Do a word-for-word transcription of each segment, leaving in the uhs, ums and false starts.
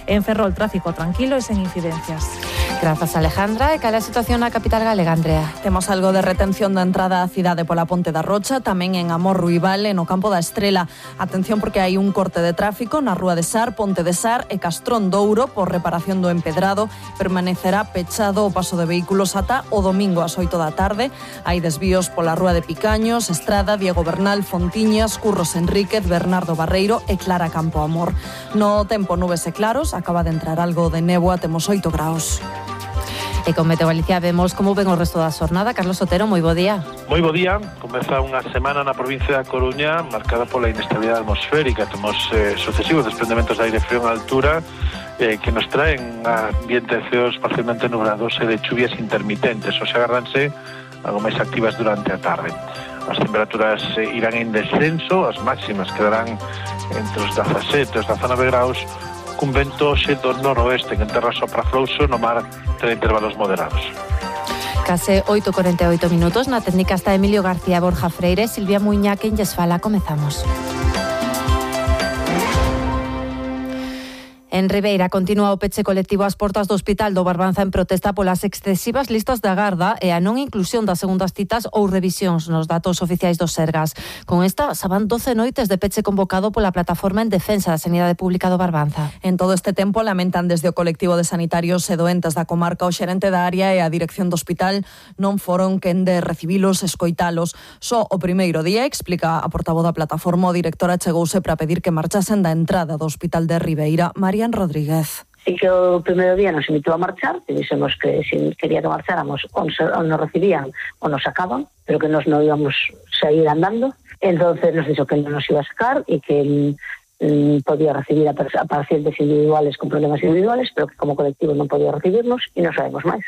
En Ferrol, tráfico tranquilo e sen incidencias. Grazas, Alejandra. E cal é a situación na capital galega, Andrea? Temos algo de retención da entrada á cidade pola Ponte da Rocha, tamén en Amor Ruibal e no Campo da Estrela. Atención porque hai un corte de tráfico na Rúa de Sar, Ponte de Sar e Castrón Douro por reparación do empedrado. Permanecerá pechado o paso de vehículos ata o domingo ás oito da tarde. Hai desvíos pola Rúa de Picaños, Estrada, Diego Bernal, Fontiñas, Curros Enríquez, Bernardo Barreiro e Clara Campo Amor. No tempo, nubes e claros, acaba de entrar algo de néboa, temos oito graus. E con Meteo Galicia vemos como ven o resto da xornada. Carlos Otero, moi bo día. Moi bo día. Comeza unha semana na provincia da Coruña marcada pola inestabilidade atmosférica. Temos eh, sucesivos desprendementos de aire frío en altura eh, que nos traen ambientes feos parcialmente nublados e de chuvias intermitentes. O sea, agardanse algo máis activas durante a tarde. As temperaturas eh, irán en descenso, as máximas quedarán entre os dezasete e os dezanove graus, cun vento xe do noroeste que en terra sopra frouxo, no mar ten intervalos moderados. Case oito e corenta e oito minutos, na técnica está Emilio García, Borja Freire, Silvia Muiña, quen lles fala. Comezamos. En Ribeira continúa o peche colectivo ás portas do Hospital do Barbanza en protesta polas excesivas listas de agarda e a non inclusión das segundas citas ou revisións nos datos oficiais dos Sergas. Con esta, xa van doce noites de peche convocado pola plataforma en defensa da sanidade pública do Barbanza. En todo este tempo lamentan desde o colectivo de sanitarios e doentes da comarca o xerente da área e a dirección do hospital non foron quen de recibilos e escoitalos. Só o primeiro día, explica a portavoz da plataforma, o director achegouse para pedir que marchasen da entrada do Hospital de Ribeira, María Rodríguez. Sí que o primeiro día nos invitou a marchar, e dixemos que se quería que marcháramos ou nos recibían ou nos sacaban, pero que nos non íbamos seguir andando. Entonces nos dixo que non nos iba a sacar e que mm, podía recibir a, a pacientes individuales con problemas individuales, pero que como colectivo non podía recibirnos e non sabemos máis.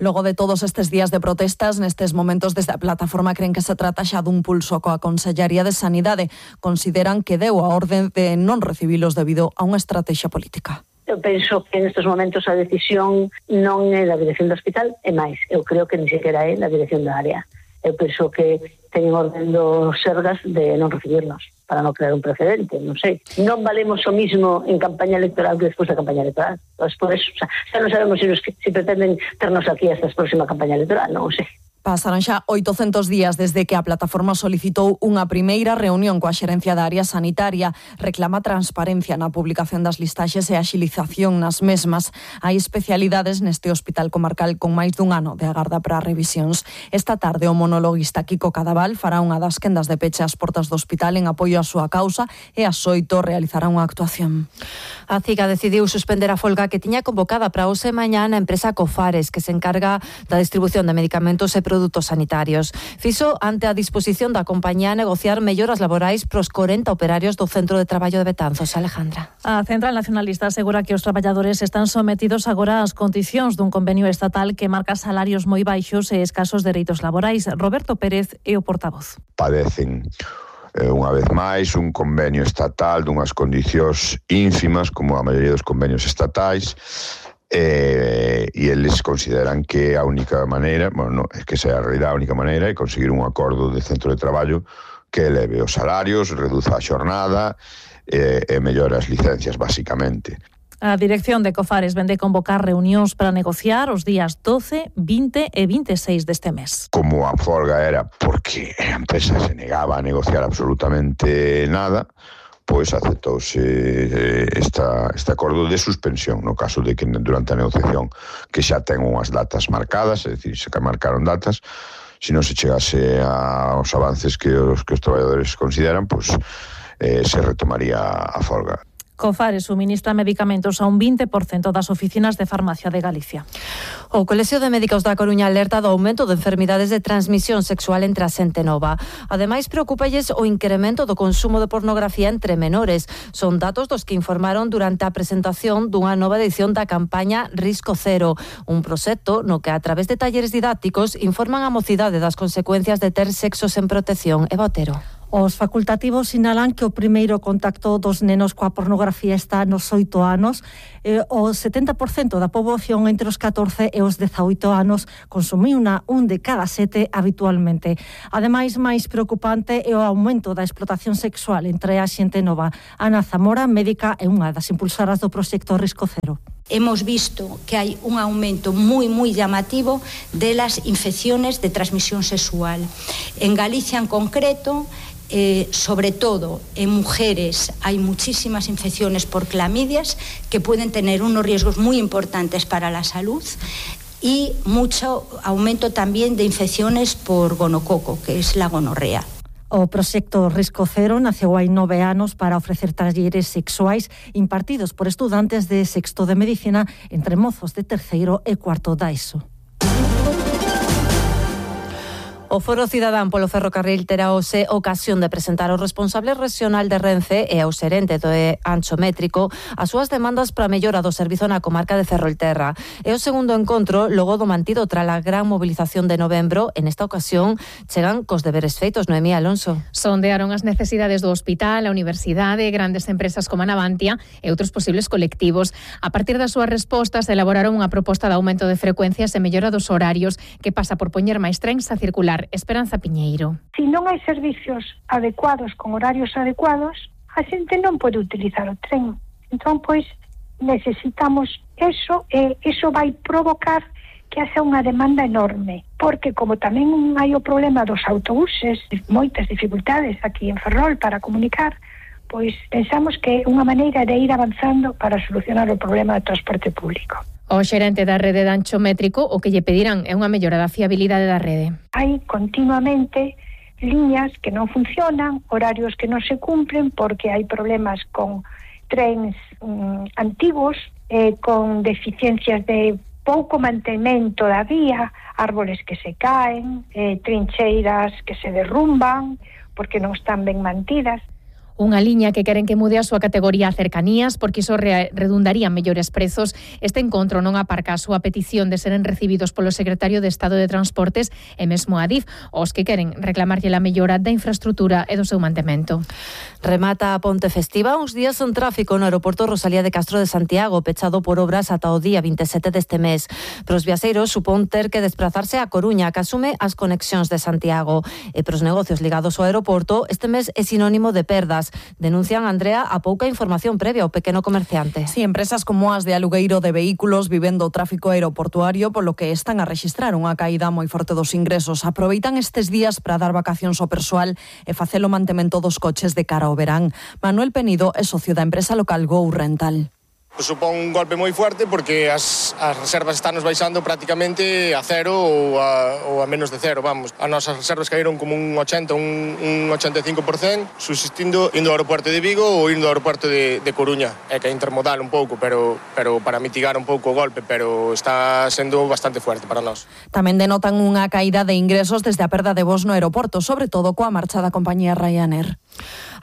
Logo de todos estes días de protestas, nestes momentos desde a plataforma creen que se trata xa dun pulso coa Consellería de Sanidade. Consideran que deu a orde de non recibilos debido a unha estrategia política. Eu penso que nestes momentos a decisión non é da dirección do hospital, e máis, eu creo que ni sequera é da dirección da área. Eu penso que teñen orden dos Sergas de non recibirnos, para non crear un precedente, non sei. Non valemos o mismo en campaña electoral que despois da campaña electoral. Entón, por eso, o sea, xa non sabemos se, nos, se pretenden ternos aquí hasta a próxima campaña electoral, non sei. Pasaron xa oitocentos días desde que a plataforma solicitou unha primeira reunión coa xerencia da área sanitaria. Reclama transparencia na publicación das listaxes e axilización nas mesmas. Hai especialidades neste hospital comarcal con máis dun ano de agarda para revisións. Esta tarde o monologuista Kiko Cadaval fará unha das quendas de peche ás portas do hospital en apoio á súa causa e ás oito realizará unha actuación. A CIGA decidiu suspender a folga que tiña convocada para hoxe e mañá na empresa Cofares, que se encarga da distribución de medicamentos e produtos sanitarios. Fixo ante a disposición da compañía a negociar melloras laborais pros corenta operarios do Centro de Traballo de Betanzos. Alejandra. A Central Nacionalista asegura que os traballadores están sometidos agora ás condicións dun convenio estatal que marca salarios moi baixos e escasos dereitos laborais. Roberto Pérez é o portavoz. Padecen unha vez máis un convenio estatal dunhas condicións ínfimas como a maioría dos convenios estatais, eh, e eles consideran que a única maneira, bueno, no, é que sea a realidade a única maneira é conseguir un acordo de centro de traballo que eleve os salarios, reduza a xornada eh, e mellora as licencias, basicamente. A dirección de Cofares vende convocar reunións para negociar os días doce, vinte e vinte e seis deste mes. Como a folga era porque a empresa se negaba a negociar absolutamente nada, pois aceptouse esta, este acordo de suspensión no caso de que durante a negociación que xa ten unhas datas marcadas, é dicir, se que marcaron datas, se non se chegase aos avances que os, que os traballadores consideran, pois eh, se retomaría a folga. Cofares suministra medicamentos a un vinte por cento das oficinas de farmacia de Galicia. O Colexio de Médicos da Coruña alerta do aumento de enfermidades de transmisión sexual entre a xente nova. Ademais, preocúpalles o incremento do consumo de pornografía entre menores. Son datos dos que informaron durante a presentación dunha nova edición da campaña Risco Cero, un proxecto no que a través de talleres didácticos informan a mocidade das consecuencias de ter sexo sen protección. Eva Otero. Os facultativos sinalan que o primeiro contacto dos nenos coa pornografía está nos oito anos. E o setenta por cento da poboación entre os catorce e os dezaoito anos consumiuna un de cada sete habitualmente. Ademais, máis preocupante é o aumento da explotación sexual entre a xente nova. Ana Zamora, médica e unha das impulsoras do proxecto Risco Cero. Hemos visto que hai un aumento moi, moi llamativo de las infecciones de transmisión sexual. En Galicia en concreto, Eh, sobre todo en mujeres hay muchísimas infecciones por clamidias que pueden tener unos riesgos muy importantes para la salud y mucho aumento también de infecciones por gonococo, que es la gonorrea. O proxecto Risco Cero naceu hai nove anos para ofrecer talleres sexuais impartidos por estudantes de sexto de medicina entre mozos de terceiro e cuarto da ESO. O Foro Cidadán polo Ferrocarril terá hoxe ocasión de presentar ao responsable regional de Renfe e ao xerente do Ancho Métrico as súas demandas para a mellora do servizo na comarca de Ferrolterra. É o segundo encontro logo do mantido tras a gran movilización de novembro. En esta ocasión chegan cos deberes feitos. Noemí Alonso. Sondearon as necesidades do hospital, a universidade, grandes empresas como a Navantia e outros posibles colectivos. A partir das súas respostas elaboraron unha proposta de aumento de frecuencias e mellora dos horarios que pasa por poñer máis trens a circular. Esperanza Piñeiro. Si non hai servicios adecuados con horarios adecuados, a xente non pode utilizar o tren. Entón, pois, necesitamos eso e eso vai provocar que haxa unha demanda enorme. Porque como tamén hai o problema dos autobuses, moitas dificultades aquí en Ferrol para comunicar, pois pensamos que é unha maneira de ir avanzando para solucionar o problema do transporte público. O xerente da rede de Ancho Métrico o que lle pedirán é unha mellora da fiabilidade da rede. Hai continuamente liñas que non funcionan, horarios que non se cumplen porque hai problemas con trens mm, antigos, eh, con deficiencias de pouco mantemento da vía, árboles que se caen, eh, trincheiras que se derrumban porque non están ben mantidas. Unha liña que queren que mude a súa categoría a cercanías porque iso re redundaría en mellores prezos. Este encontro non aparca a súa petición de seren recibidos polo secretario de Estado de Transportes e mesmo a Adif, os que queren reclamarlle a mellora da infraestrutura e do seu mantemento. Remata a ponte festiva uns días en tráfico no aeroporto Rosalía de Castro de Santiago, pechado por obras ata o día vinte e sete deste mes. Pros viaxeiros supón ter que desplazarse a Coruña, que asume as conexións de Santiago. E pros negocios ligados ao aeroporto, este mes é sinónimo de perdas. Denuncian, Andrea, a pouca información previa ao pequeno comerciante. Si, sí, empresas como as de alugueiro de vehículos vivendo o tráfico aeroportuario, polo que están a rexistrar unha caída moi forte dos ingresos. Aproveitan estes días para dar vacacións ao persoal e facer o mantemento dos coches de cara ao verán. Manuel Penido é socio da empresa local Go Rental. Supón un golpe moi fuerte porque as, as reservas están nos baixando prácticamente a cero ou a, ou a menos de cero, vamos. As nosas reservas caíron como un ochenta, un, un ochenta e cinco por cento, subsistindo indo ao aeroporto de Vigo ou indo ao aeroporto de, de Coruña. É que é intermodal un pouco, pero, pero para mitigar un pouco o golpe, pero está sendo bastante fuerte para nós. Tamén denotan unha caída de ingresos desde a perda de voos no aeroporto, sobre todo coa marcha da compañía Ryanair.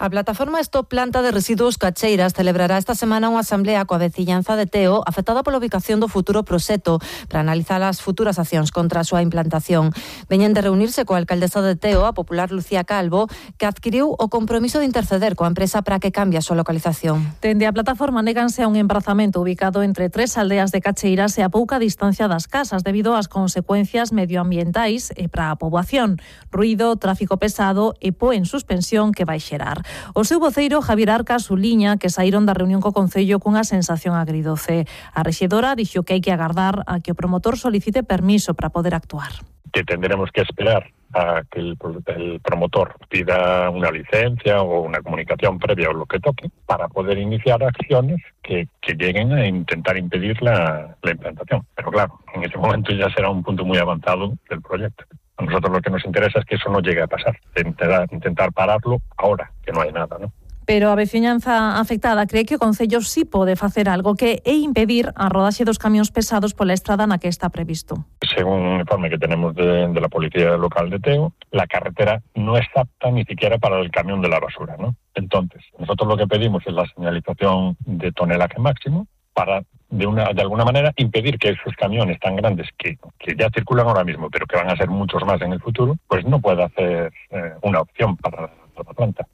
A plataforma Stop Planta de Residuos Cacheiras celebrará esta semana unha asamblea coa veciñanza de Teo afectada pola ubicación do futuro proxecto para analizar as futuras accións contra a súa implantación. Veñen de reunirse coa alcaldesa de Teo, a popular Lucía Calvo, que adquiriu o compromiso de interceder coa empresa para que cambie a súa localización. Dende a plataforma néganse a un embrazamento ubicado entre tres aldeas de Cacheiras e a pouca distancia das casas debido ás consecuencias medioambientais e para a poboación. Ruído, tráfico pesado e po en suspensión que vai xerar. O seu voceiro, Javier Arca, suliña que saíron da reunión co Concello cunha sensación agridoce. A rexedora dixo que hai que agardar a que o promotor solicite permiso para poder actuar. Que tendremos que esperar a que el, el promotor pida una licencia o una comunicación previa o lo que toque para poder iniciar acciones que, que lleguen a intentar impedir la, la implantación. Pero claro, en ese momento ya será un punto muy avanzado del proyecto. A nosotros lo que nos interesa es que eso no llegue a pasar, intentar, intentar pararlo ahora, que no hay nada, ¿no? Pero a veciñanza afectada cree que o Concello sí pode facer algo, que é impedir a rodaxe dos camións pesados pola estrada na que está previsto. Según un informe que tenemos de, de la Policía Local de Teo, la carretera no es apta ni siquiera para el camión de la basura, ¿no? Entonces, nosotros lo que pedimos es la señalización de tonelaje máximo para, de una de alguna manera, impedir que esos camiones tan grandes que, que ya circulan ahora mismo, pero que van a ser muchos más en el futuro, pues no pueda hacer eh, una opción para dentro da planta.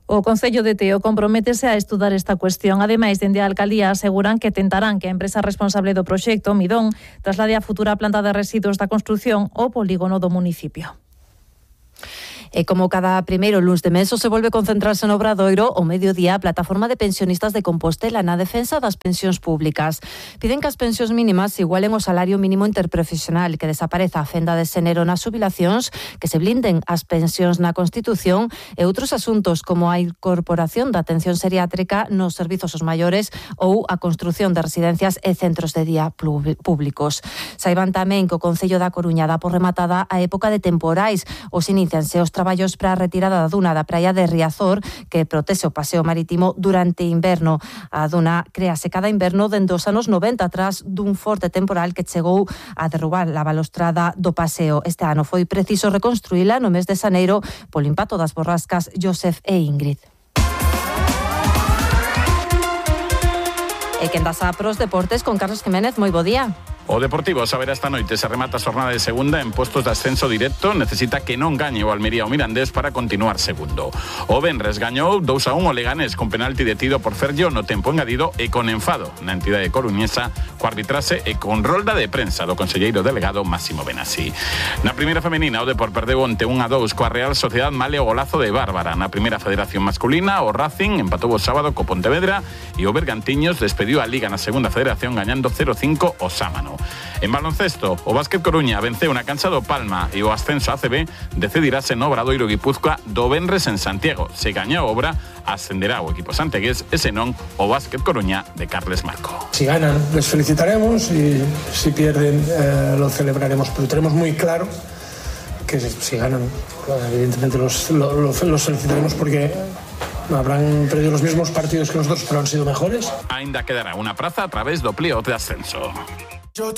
O Concello de Teo comprométese a estudar esta cuestión. Ademais, dende a Alcaldía aseguran que tentarán que a empresa responsable do proxecto, Midón, traslade a futura planta de residuos da construción ao polígono do municipio. E como cada primeiro luns de mes se volve concentrarse no Obradoiro, o mediodía a plataforma de pensionistas de Compostela na defensa das pensións públicas. Piden que as pensións mínimas igualen o salario mínimo interprofesional, que desapareza a fenda de xénero nas xubilacións, que se blinden as pensións na Constitución e outros asuntos como a incorporación da atención seriátrica nos servizos aos maiores ou a construción de residencias e centros de día públicos. Saiban tamén que o Concello da Coruña dá por rematada a época de temporais. Os inicianse os traballos para a retirada da duna da praia de Riazor, que protexe o paseo marítimo durante inverno. A duna créase cada inverno dende os anos noventa tras dun forte temporal que chegou a derrubar a balostrada do paseo. Este ano foi preciso reconstruíla no mes de xaneiro polo impacto das borrascas Joseph e Ingrid. E quen das a pros deportes con Carlos Jiménez, moi bo día. O Deportivo saberá esta noite se remata a xornada de segunda en postos de ascenso directo. Necesita que non gañe o Almería o Mirandés para continuar segundo. O Venres gañou dous a un o Leganés con penalti detido por Ferllo no tempo engadido e con enfado na entidade coruñesa co arbitrase e con rolda de prensa do conselleiro delegado Máximo Benassi. Na primeira femenina o Depor perdeu onte un a dous coa Real Sociedad male o golazo de Bárbara. Na primeira federación masculina o Racing empatou o sábado co Pontevedra e o Bergantiños despediu a Liga na segunda federación gañando cero cinco o Sámano. En baloncesto, o Básquet Coruña venceu na cancha do Palma e o ascenso a C B decidirase no Obradoiro Guipúzcoa do venres en Santiago. Se gaña a obra, ascenderá o equipo santegués e senón o Básquet Coruña de Carles Marco. Si ganan, les felicitaremos y si pierden, eh, lo celebraremos, pero tenemos muy claro que si ganan, evidentemente los, los, los felicitaremos porque habrán perdido los mismos partidos que nosotros, pero han sido mejores. Ainda quedará unha praza a través do playoff de ascenso.